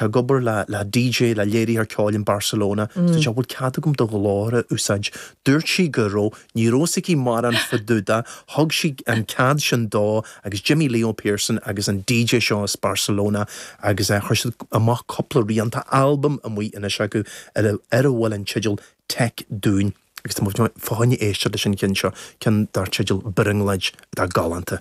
Ag obair le le DJ, le léiritheoir ceoil in Barcelona. Dúirt sé, bhfuil cead agam do ghlór a úsáid? Dúirt sí go raibh. Ní raibh fhios aici mórán fá dtaobh de. Thug sí an cead sin dó agus d'imigh Leo Pearson agus an DJ seo as Barcelona agus chuir siad amach cúpla rian. Tá albam amuigh anois acu ar a ar a bhfuil an teideal Tech Dúin agus tá muid fá choinne éisteacht leis an cheann seo, ceann dar teideal Brionglóid atá galánta.